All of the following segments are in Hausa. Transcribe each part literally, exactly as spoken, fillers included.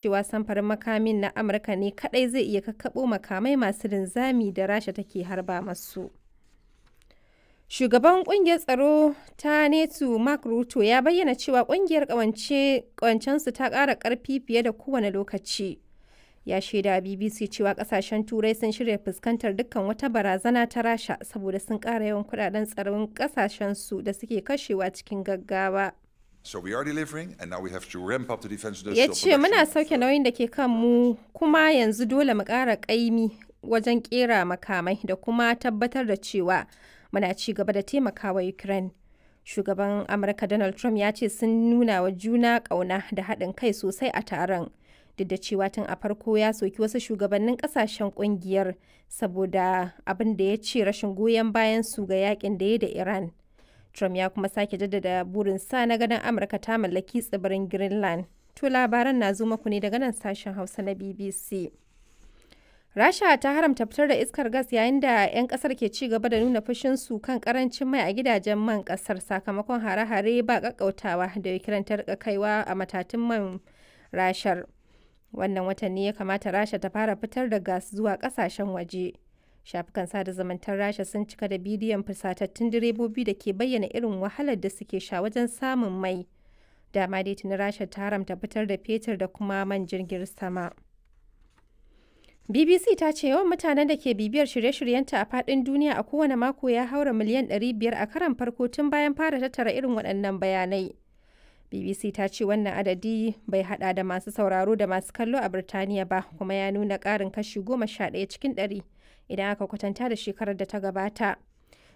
Cewa samfurin makamin na Amurka ne kaɗai zai iya kakkaɓo makamai masu linzami da Rasha take harba masu. Shugaban Kungiyar Tsaro ta NATO Mark Rutte ya bayyana cewa kungiyar ƙawancensu ta ƙara ƙarfi fiye da kowane lokaci. Ya shaidawa B B C cewa kasashen Turai sun shirya fuskantar dukkan wata barazana ta Rasha saboda sun ƙara yawan kudaden tsaron kasashensu da suke kashewa cikin gaggawa. So we are delivering, and now we have to ramp up the defense Ya industrial ce muna production. sauke nauyin da ke kanmu kuma yanzu dole mu ƙara ƙaimi wajen ƙera makamai da kuma tabbatar da cewa muna ci gaba da taimakawa Ukraine. Shugaban Amurka Donald Trump ya ce sun nuna wa juna ƙauna da haɗin kai sosai a taron. Duk da cewa tun a farko ya soki wasu shugabannin ƙasashen ƙungiyar saboda abin da ya ce rashin goyon bayan su ga yakin da ya da Iran. Trump ya kuma sake jaddada burinsa na ganin Amurka ta mallaki tsibirin Greenland. To, labaran na zo muku ne daga nan sashen Hausa na B B C. Rasha ta haramta fitar da iskar gas yayin da 'yan kasar ke ci gaba da nuna fushinsu kan karancin mai a gidajen man kasar sakamakon hare-hare ba kakkautawa da Ukraine ta rika kaiwa a matatun man Rashar. Wannan watan ne ya kamata Rasha ta fara fitar da gas zuwa kasashen waje. Shafukan sada zumuntar Rasha sun cika da bidiyon fusatattun direbobi da ke bayyana irin wahalar da suke sha wajen samun mai. Dama dai tuni Rasha ta haramta fitar da fetur da kuma man jirgin sama. B B C ta ce yawan mutanen da ke bibiyar shirye-shiryenta a faɗin duniya a kowane mako ya haura miliyan ɗari biyar a karon farko tun bayan fara tattara irin waɗannan bayanai. B B C ta ce wannan adadi bai hada da masu sauraro da masu kallo a Birtaniya ba, kuma ya nuna ƙarin kashi goma sha ɗaya cikin ɗari idan aka kwatanta da shekarar da ta gabata.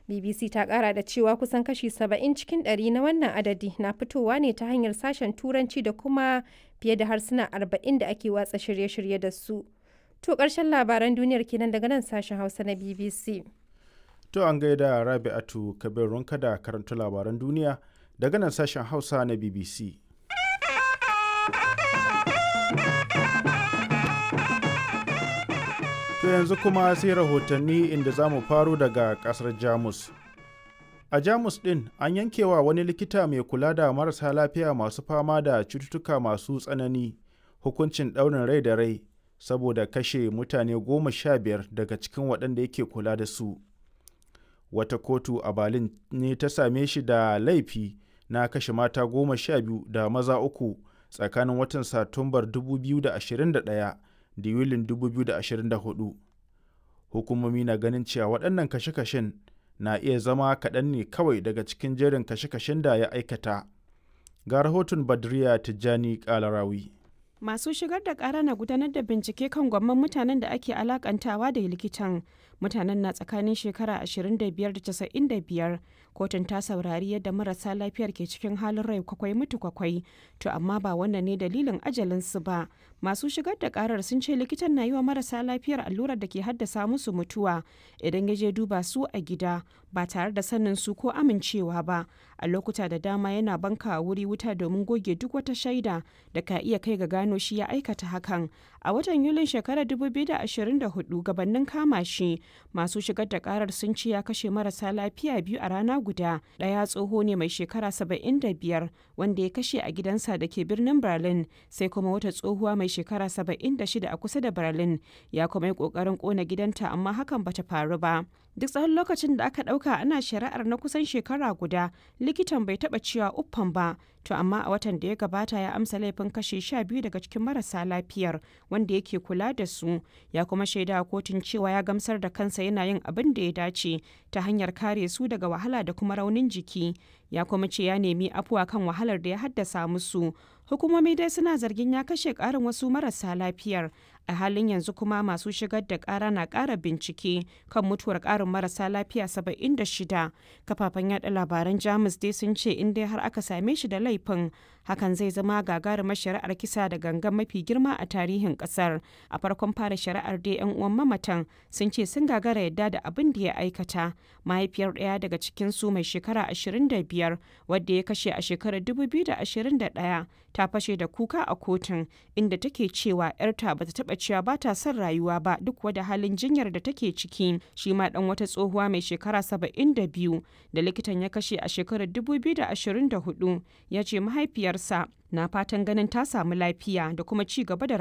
B B C ta kara da cewa kusan kashi saba'in cikin ɗari na wannan adadi na fitowa ne ta hanyar sashen Turanci da kuma fiye da harsuna arba'in da ake watsa shirye-shirye da su. To, ƙarshen labaran duniyar kenan daga nan sashen Hausa na B B C. To, an gaida Rabi'atu Kabir Runka da karanta labaran duniya daga nan sashen Hausa na B B C. To, yanzu kuma sai rahotanni, inda za mu faro daga kasar Jamus. A Jamus ɗin an yankewa wani likita mai kula da marasa lafiya masu fama da cututtuka masu tsanani hukuncin ɗaurin rai da rai saboda kashe mutane goma sha biyar daga cikin waɗanda yake kula da su. Wata kotu a Berlin ne ta same shi da laifi na kashe mata goma sha biyu da maza uku tsakanin watan Satumbar dubu biyu da ashirin da ɗaya da Yulin dubu biyu da ashirin da huɗu. Hukumomi na ganin cewa waɗannan kashe-kashen na iya zama kaɗan ne kawai daga cikin jerin kashe-kashen da ya aikata. Ga rahoton Badriya Tijjani Kalarawi. Masu shigar da kara na gudanar da bincike kan gwamman mutanen da ake alakantawa da likitan. Mutanen na tsakanin shekara ashirin da biyar da casa'in da biyar. Kotun ta saurari yadda marasa lafiyar ke cikin halin rai kwakwai mutu kwakwai. To amma ba wannan ne dalilin ajalinsu ba. Masu shigar da karar sun ce likitan na yi wa marasa lafiyar allurar da ke haddasa musu mutuwa idan ya je duba su a gida ba tare da sanin su ko amincewa ba. A lokuta da dama yana banka wuri wuta domin goge duk wata shaida da ka iya kai ga gano shi ya aikata hakan. A watan Yulin shekarar dubu biyu da ashirin da huɗu, gabanin kama shi, masu shigar da karar sun ce ya kashe marasa lafiya biyu a rana guda. Ɗaya tsoho ne mai shekara saba'in da biyar wanda ya kashe a gidansa da ke birnin Berlin, sai kuma wata tsohuwa mai shekara saba'in da shida a kusa da Berlin. Ya kuma yi ƙoƙarin ƙona gidanta, amma hakan bata faru ba. Duk tsawon lokacin da aka ɗauka ana shari'ar na kusan shekara guda, likitan bai taɓa cewa uffan ba. To amma a watan da ya gabata ya amsa laifin kashe sha biyu daga cikin marasa lafiyar wanda yake kula da su. Ya kuma shaida a kotun cewa ya gamsar da kansa yana yin abin da ya dace ta hanyar kare su daga wahala da kuma raunin jiki. Ya kuma ce ya nemi afuwa kan wahalar da ya haddasa musu. Hukumomi dai suna zargin ya kashe ƙarin wasu marasa lafiyar. A halin yanzu kuma masu shigar da ƙara na ƙara bincike kan mutuwar ƙarin marasa lafiya saba'in da shida. Kafafen yada labaran Jamus dai sun ce in dai har aka same shi da laifin, hakan zai zama gagarumar shari'ar kisa da gangan mafi girma a tarihin kasar. A farkon fara shari'ar dai yan uwan mamatan sun ce sun gagara yadda da abin da ya aikata. Mahaifiyar ɗaya daga cikin su mai shekara ashirin da biyar wadda ya kashe a shekarar dubu biyu da ashirin da ɗaya ta fashe da kuka a kotun, inda take cewa 'yarta bata taɓa cewa ba ta son rayuwa ba duk wada halin jinyar da take ciki. Shi ma dan wata tsohuwa mai shekara saba'in da biyu da likitan ya kashe a shekarar dubu biyu da ashirin da huɗu ya ce mahaifiyarsa mahaifiyarsa na fatan ganin ta samu lafiya da kuma ci gaba da